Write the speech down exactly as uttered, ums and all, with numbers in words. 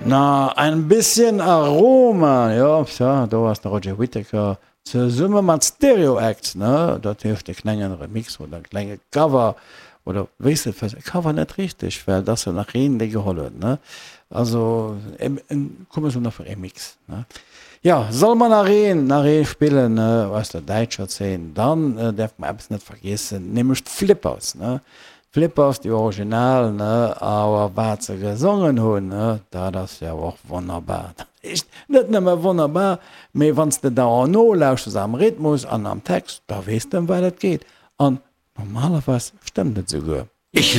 Na, ein bisschen Aroma, jo, tja, do ass de Roger Whittaker zesumme mat Stereo Acts, ne, dat heescht e klengen Remix oder e klenge Cover oder wéi s de et, Cover net richteg, well et ass jo nach een, dee geholl huet, ne, also komme se nach Remix, ne. Jo, solle mer nach een, nach ee spillen aus der däitscher Zeen, dann däerfe mer eppes net vergiessen, nämlech d'Flippers, ne. D'Flippers, déi original, ne, awer wat se gesongen hunn, ne, dat ass jo och wonnerbar. Dat heescht, net nëmme wonnerbar, mee wann s de da och nolauschters am Rhythmus an am Text, da weess de ëm wat et geet. An normalerweis stëmmt et esouguer. Ich